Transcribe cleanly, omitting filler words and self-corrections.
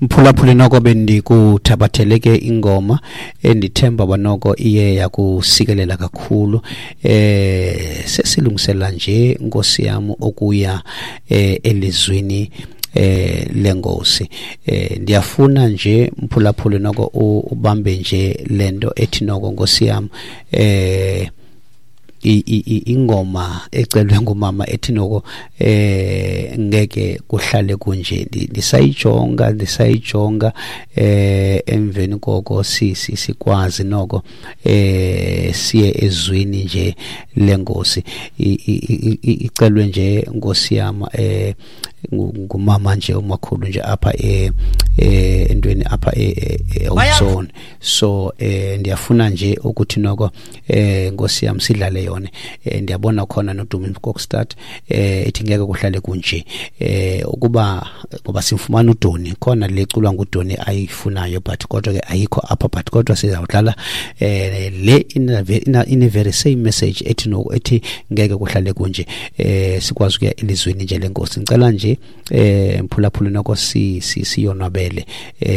Mphulaphuli, noko bendikuthabathele ke ingoma endithemba banoko iye yakusikelela kakhulu. Sesilungisela nje, Nkosi yam, okuya elizwini lenkosi. Ndiyafuna nje, mphulaphuli, noko ubambe nje lento ethi noko, Nkosi yam, ingoma ecelwe ngumama ethi noko ngeke kuhlale kunje. Ndisayijonga emveni koko sikwazi noko siye ezwini nje lenkosi. Icelwe nje, Nkosi yam, ngumama nje, umakhulu nje apha entweni apha e-Ozone. So ndiyafuna nje ukuthi noko Nkosi yam sidlale yona. Ndiyabona khona noDumi Kokstad ethi ngeke kuhlale kunje, ukuba ngoba simfumana uDoni khona leculwa nguDoni ayifunayo, but kodwa ke ayikho apha, but kodwa sizawudlala le ine very same message ethi no ethi ngeke kuhlale kunje, sikwazi ukuya elizweni nje lenkosi. Ngicela nje, mphulaphuli, noko si siyonwabele.